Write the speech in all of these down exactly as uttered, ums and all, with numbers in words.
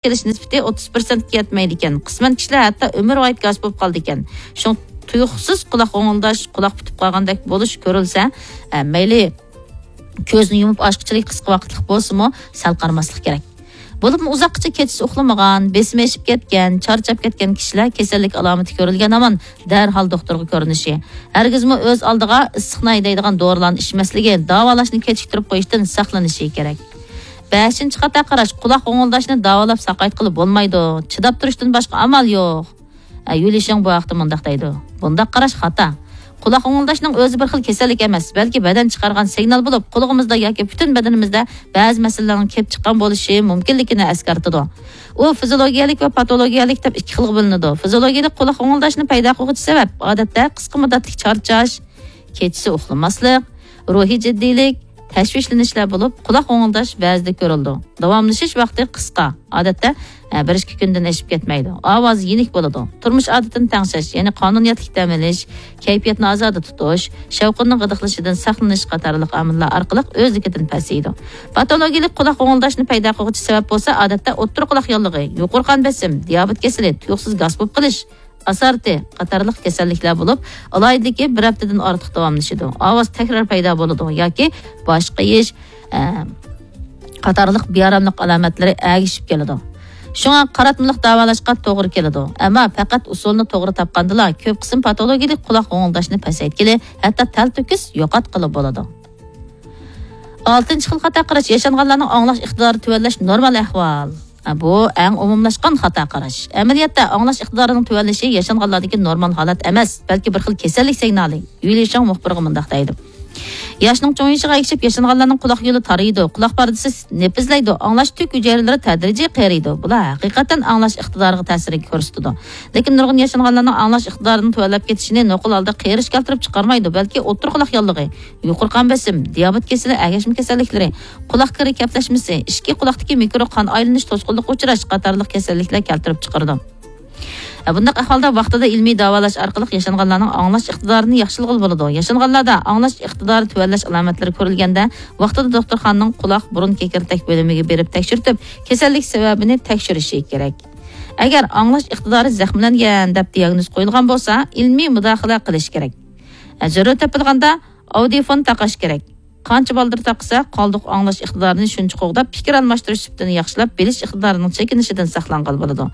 كېلىش نىسبىتى ئوتتۇز پىرسەنتكە يەتمەيدىكەن. قىسمەن كىشىلەر ھەتتا ئۆمۈر ۋايىت گاس بولۇپ قالىدىكەن. شۇڭا تۇيۇقسىز قۇلاق غوڭۇلداش، قۇلاق پۈتۈپ قالغاندەك بولۇش كۆرۈلسە، ئە، مەيلى كۆزنى يۇمۇپ ئاچقۇچىلىك قىسقا ۋاقىتلىق بولسىمۇ، سەل قارىماسلىق كېرەك. بولۇپمۇ ئۇزاققىچە كېچىسى ئۇخلىمىغان، بېسىمى ئېشىپ كەتكەن، چارچاپ كەتكەن كىشىلەر كېسەللىك ئالامىتى كۆرۈلگەن ھامان دەرھال دوختۇرغا كۆرۈنۈشى، ھەرگىزمۇ ئۆز ئالدىغا ئىسسىقنى ھەيدەيدىغان دورىلارنى ئىچمەسلىكى، داۋالاشنى كېچىكتۈرۈپ قويۇشتىن ساقلىنىشى كېرەك. بەشىنچى خاتا قاراش، قۇلاق غوڭۇلداشنى داۋالاپ ساقايتقىلى بولمايدۇ، چىداپ تۇرۇشتىن باشقا ئامال يوق. ئە، يۈلىشىڭ بۇ ھەقتە مۇنداق دەيدۇ: بۇنداق قاراش خاتا. قۇلاق غوڭۇلداشنىڭ ئۆزى بىر خىل كېسەللىك ئەمەس، بەلكى بەدەن چىقارغان سىگنال بولۇپ، قۇلىقىمىزدا ياكى پۈتۈن بەدىنىمىزدە بەزى مەسىلىلەرنىڭ كېلىپ چىققان بولۇشى مۇمكىنلىكىنى ئەسكەرتىدۇ. ئۇ فىزىولوگىيەلىك ۋە پاتولوگىيەلىك دەپ ئىككى خىلغا بۆلۈنىدۇ. فىزىولوگىيەلىك قۇلاق غوڭۇلداشنى پەيدا قىلغۇچى سەۋەب، ئادەتتە، قىسقا مۇددەتلىك چارچاش، كېچىسى ئۇخلىماسلىق، روھىي جىددىيلىك، تەشۋىشلىنىشلەر بولۇپ، قۇلاق غوڭۇلداش بەزىدە كۆرۈلىدۇ. داۋاملىشىش ۋاقتى قىسقا، ئادەتتە، ئە، بىر ئىككى كۈندىن ئېشىپ كەتمەيدۇ. ئاۋاز يېنىك بولىدۇ. تۇرمۇش ئادىتىنى تەڭشەش، يەنى قانۇنىيەتلىك دەم ئېلىش، كەيپىياتنى ئازادە تۇتۇش، شەۋقۇننىڭ غىدىقلىشىدىن ساقلىنىش قاتارلىق ئامىللار ئارقىلىق ئۆزلۈكىدىن پەسىيىدۇ. پاتولوگىيەلىك قۇلاق غوڭۇلداشنى پەيدا قىلغۇچى سەۋەب بولسا، ئادەتتە، ئوتتۇرا قۇلاق ياللۇغى، يۇقىرى قان بېسىم، دىيابېت كېسىلى، تۇيۇقسىز گاس بولۇپ قېلىش، ئاسارتى قاتارلىق كېسەللىكلەر بولۇپ، ئالاھىدىلىكى بىر ھەپتىدىن ئارتۇق داۋاملىشىدۇ. ئاۋاز تەكرار پەيدا بولىدۇ ياكى باش قېيىش، ئە، قاتارلىق بىئاراملىق ئالامەتلىرى ئەگىشىپ كېلىدۇ. شۇڭا قاراتمىلىق داۋالاشقا توغرا كېلىدۇ. ئەمما پەقەت ئۇسۇلنى توغرا تاپقاندىلا، كۆپ قىسىم پاتولوگىيەلىك قۇلاق غوڭۇلداشنى پەسەيتكىلى، ھەتتا تەلتۆكۈس يوقاتقىلى بولىدۇ. ئالتىنچى خىل خاتا قاراش، ياشانغانلارنىڭ ئاڭلاش ئىقتىدارى تۆۋەنلەش نورمال ئەھۋال. بۇ ئەڭ ئومۇملاشقان خاتا قاراش. ئەمەلىيەتتە، ئاڭلاش ئىقتىدارىنىڭ تۆۋەنلىشى ياشانغانلاردىكى نورمال ھالەت ئەمەس، بەلكى بىر خىل كېسەللىك سىگنالى. يۈلى شاڭ مۇخبىرغا مۇنداق دەيدۇ: ياشنىڭ چوڭىيىشىغا ئەگىشىپ، ياشانغانلارنىڭ قۇلاق يولى تارىيىدۇ، قۇلاق پەردىسى نېپىزلەيدۇ، ئاڭلاش تۈك ھۈجەيرىلىرى تەدرىجىي قېرىيدۇ. بۇلار ھەقىقەتەن ئاڭلاش ئىقتىدارىغا تەسىر كۆرسىتىدۇ. لېكىن نۇرغۇن ياشانغانلارنىڭ ئاڭلاش ئىقتىدارىنىڭ تۆۋەنلەپ كېتىشىنى نوقۇل ھالدا قېرىش كەلتۈرۈپ چىقارمايدۇ، بەلكى ئوتتۇرا قۇلاق ياللۇغى، يۇقىرى قان بېسىم، دىيابېت كېسىلى، ئەگەشمە كېسەللىكلىرى، قۇلاق كىرى كەپلەشمىسى، ئىچكى قۇلاقتىكى مىكرو قان ئايلىنىش توسقۇنلۇققا ئۇچراش قاتارلىق كېسەللىكلەر كەلتۈرۈپ چىقىرىدۇ. بۇنداق ئەھۋالدا ۋاقتىدا ئىلمىي داۋالاش ئارقىلىق ياشانغانلارنىڭ ئاڭلاش ئىقتىدارىنى ياخشىلىغىلى بولىدۇ. ياشانغانلاردا ئاڭلاش ئىقتىدارى تۆۋەنلەش ئالامەتلىرى كۆرۈلگەندە، ۋاقتىدا دوختۇرخانىنىڭ قۇلاق، بۇرۇن، كېكىردەك بۆلۈمىگە بېرىپ تەكشۈرتۈپ، كېسەللىك سەۋەبىنى تەكشۈرۈشى كېرەك. ئەگەر ئاڭلاش ئىقتىدارى زەخىملەنگەن دەپ دىياگنوز قويۇلغان بولسا، ئىلمىي مۇداخىلە قىلىش كېرەك. زۆرۈر تېپىلغاندا ئاۋدىيفون تاقاش كېرەك. قانچە بالدۇر تاقىسا، قالدۇق ئاڭلاش ئىقتىدارىنى شۇنچە قوغداپ، پىكىر ئالماشتۇرۇش سۈپىتىنى ياخشىلاپ، بىلىش ئىقتىدارىنىڭ چېكىنىشىدىن ساقلانغىلى بولىدۇ.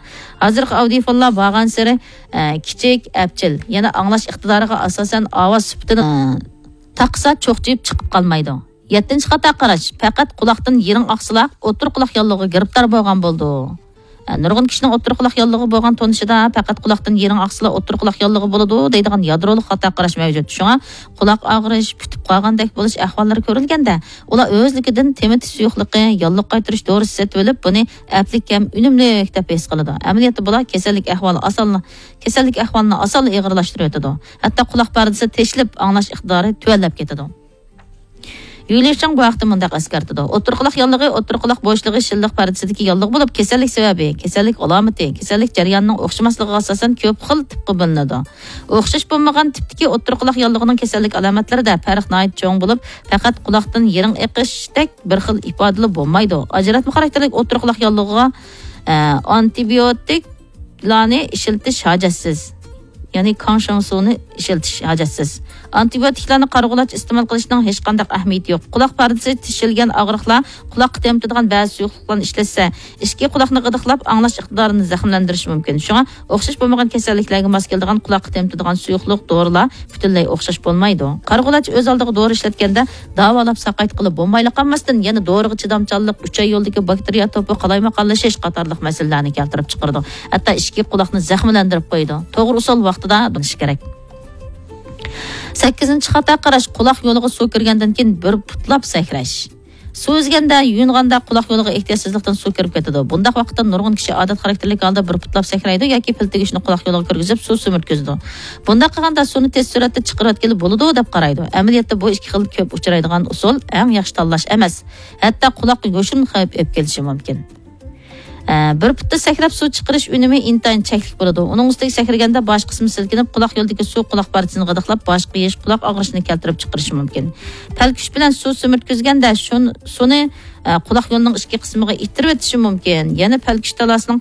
ھازىرقى ئاۋدىيفونلار بارغانسېرى، ئە، كىچىك، ئەپچىل، يەنە ئاڭلاش ئىقتىدارىغا ئاساسەن ئاۋاز سۈپىتىنى، ئە، تاقىسا چوقچىيىپ چىقىپ قالمايدۇ. يەتتىنچى خاتا قاراش، پەقەت قۇلاقتىن يىرىڭ ئاقسىلا، ئوتتۇرا قۇلاق ياللۇغىغا گىرىپتار بولغان بولىدۇ. نۇرغۇن كىشىنىڭ ئوتتۇرا قۇلاق ياللۇغى بولغان تونۇشىدا پەقەت قۇلاقتىن يىرىڭ ئاقسىلا ئوتتۇرا قۇلاق ياللۇغى بولىدۇ دەيدىغان يادرولۇق خاتا قاراش مەۋجۇت. شۇڭا قۇلاق ئاغرىش، پۈتۈپ قالغاندەك بولۇش ئەھۋاللىرى كۆرۈلگەندە، ئۇلار ئۆزلۈكىدىن تېمىتىش سۇيۇقلۇقى، ياللۇق قايتۇرۇش دورىسى سېتىۋېلىپ، بۇنى ئەپلىك ھەم ئۈنۈملۈك دەپ ھېس قىلىدۇ. ئەمەلىيەتتە بۇلار كېسەللىك ئەھۋالى ئاسانلا، كېسەللىك ئەھۋالىنى ئاسانلا ئېغىرلاشتۇرۇۋېتىدۇ. ھەتتا قۇلاق پەردىسى تېشىلىپ، ئاڭلاش ئىقتىدارى تۆۋەنلەپ كېتىدۇ. يۈلى شاڭ بۇ ھەقتە مۇنداق ئەسكەرتىدۇ: ئوتتۇرا قۇلاق ياللۇغى، ئوتتۇرا قۇلاق بوشلۇقى شىللىق پەردىسىدىكى ياللۇغ بولۇپ، كېسەللىك سەۋەبى، كېسەللىك ئالامىتى، كېسەللىك جەريانىنىڭ ئوخشىماسلىقىغا ئاساسەن كۆپ خىل تىپقا بۆلۈنىدۇ. ئوخشاش بولمىغان تىپتىكى ئوتتۇرا قۇلاق ياللۇغىنىڭ كېسەللىك ئالامەتلىرىدە پەرق ناھايىتى چوڭ بولۇپ، پەقەت قۇلاقتىن يىرىڭ ئېقىشتەك بىر خىل ئىپادىلىرى بولمايدۇ. ئاجراتما خاراكتېرلىك ئوتتۇرا قۇلاق ياللۇغىغا، ئە، ئانتىبىيوتىك لارنى ئىشلىتىش ھاجەتسىز. يەنى كاڭشاڭسۇنى ئىشلىتىش ھاجەتسىز. ئانتىبىيوتىكلارنى قارىغۇلارچە ئىستېمال قىلىشنىڭ ھېچقانداق ئەھمىيىتى يوق. قۇلاق پەردىسى تېشىلگەن ئاغرىقلار، قۇلاققا تېمىتىدىغان بەزى سۇيۇقلۇقلارنى ئىشلەتسە، ئىچكى قۇلاقنى غىدىقلاپ، ئاڭلاش ئىقتىدارىنى زەخىملەندۈرۈشى مۇمكىن. شۇڭا ئوخشاش بولمىغان كېسەللىكلەرگە ماس كېلىدىغان قۇلاققا تېمىتىدىغان سۇيۇقلۇق، دورىلار پۈتۈنلەي ئوخشاش بولمايدۇ. قارىغۇلارچە ئۆز ئالدىغا دورا ئىشلەتكەندە، داۋالاپ ساقايتقىلى بولمايلا قالماستىن، يەنە دورىغا چىدامچانلىق، ئۈچەي يولىدىكى باكتېرىيە توپى قالايمىقانلىشىش قاتارلىق مەسىلىلەرنى كەلتۈرۈپ چىقىرىدۇ. ھەتتا ئىچكى قۇلاقنى زەخىملەندۈرۈپ قويىدۇ. توغرا ئۇسۇل ۋاقتىدا دورىلىنىش كېرەك. سەككىزىنچى خاتا قاراش، قۇلاق يولىغا سۇ كىرگەندىن كېيىن بىر پۇتلاپ سەكرەش. سۇ ئۈزگەندە، يۇيۇنغاندا قۇلاق يولىغا ئېھتىياتسىزلىقتىن سۇ كىرىپ كېتىدۇ. بۇنداق ۋاقىتتا نۇرغۇن كىشى ئادەت خاراكتېرلىك ھالدا بىر پۇتلاپ سەكرەيدۇ ياكى پىل تېگۈشنى قۇلاق يولىغا كىرگۈزۈپ سۇ سۈمۈرتكۈزىدۇ. بۇنداق قىلغاندا سۇنى تېز سۈرئەتتە چىقىرىۋەتكىلى بولىدۇ دەپ قارايدۇ. ئەمەلىيەتتە بۇ ئىككى خىل كۆپ ئۇچرايدىغان ئۇسۇل ئەڭ ياخشى تاللاش ئەمەس. ھەتتا قۇلاققا يوشۇرۇن خەۋپ ئېلىپ كېلىشى مۇمكىن. ئە، بىر پۇتتا سەكرەپ سۇ چىقىرىش ئۈنۈمى ئىنتايىن چەكلىك بولىدۇ. ئۇنىڭ ئۈستىگە سەكرىگەندە باش قىسمى سىلكىنىپ، قۇلاق يولىدىكى سۇ قۇلاق پارچىسىنى غىدىقلاپ، باشقا يېيىش، قۇلاق ئاغرىشىنى كەلتۈرۈپ چىقىرىشى مۇمكىن. پەلكۈش بىلەن سۇ سۈمۈرتكۈزگەندە شۇن-، سۇنى، ئە، قۇلاق يولىنىڭ ئىچكى قىسمىغا ئىتتىرىۋېتىشى مۇمكىن. يەنە پەلكۈش تالاسىنىڭ